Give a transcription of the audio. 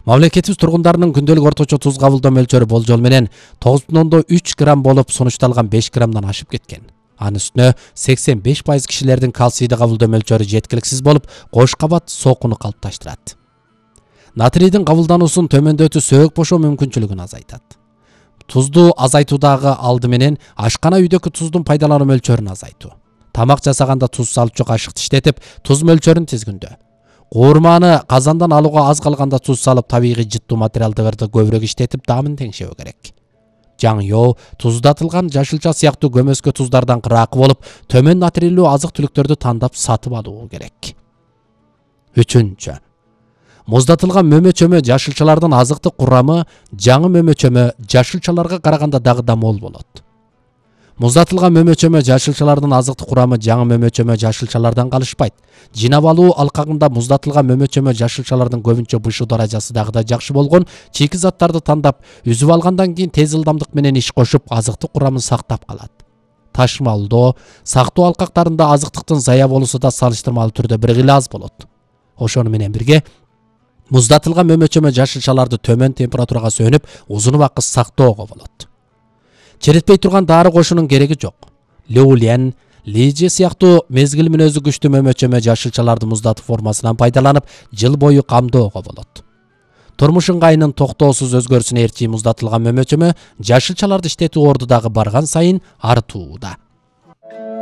Мамлекетибиз тургундарынын күндөлүк орточо туз кабылдоо мөлчөрү болжол менен 9,3 грамм болуп сунушталган 5 граммдан ашып кеткен. Анын үстүнө 85% кишилердин кальцийди кабылдоо мөлчөрү жеткиликсиз болуп, кош кабат сокуну калыпташтырат. Натрийдин кабылдануусун төмөндөтүү сөөгүк бошоо мүмкүнчүлүгүн азайтат. Тузду азайтуудагы алды менен ашкана үйдөгү туздун пайдалануу мөлчөрүн азайтуу. Тамак жасаганда туз салчу кашыкты иштетип, туз мөлчөрүн тизгиндөө. Куурманы казандан алууга аз калганда туз салып, табигый жыттуу материалдарды көбүрөөк иштетип, даамын теңшебөө керек. Жаңё, туздатылган жашылча сыяктуу көмөскө туздардан кыраакы болуп, төмөн натрийлүү азык-түлүктөрдү тандап сатып алуу керек. 3. Муздатылган мөмө-чөмө жашылчалардын азыктык курамы жаңы мөмө-чөмө жашылчаларга караганда дагы да мол болот. Муздатылган мөмө-чөмө жашылчалардын азыктык курамы жаңы мөмө-чөмө жашылчалардан калышпайт. Жинап алуу алкагында муздатылган мөмө-чөмө жашылчалардын көбүнчө бышуу даражасы дагы да жакшы болгон чийки заттарды тандап, үзүп алгандан кийин тез ылдамдык менен иш кошуп, азыктык курамын сактап калат. Ташымалдоо, сактоо алкактарында азыктыктын зая болуусу да салыштырмалуу түрдө бир кыйла аз болот. Ошону менен бирге муздатылган мөмө-чөмө жашылчаларды төмөн температурага сөнүп, узун убакыт сактоого болот. Черетпей турган дары кошуунун кереги жок. Леулен, лиже сыяктуу мезгил мүнөзү күчтүү мөмө-чөмө жашылчаларды муздатуу формасынан пайдаланып, жыл бою камдоого болот. Турмуш ыңгайынын токтоосуз өзгөрүшүнө ээрчи муздатылган мөмө-чөмө жашылчаларды иштетүү орду дагы барган сайын артууда.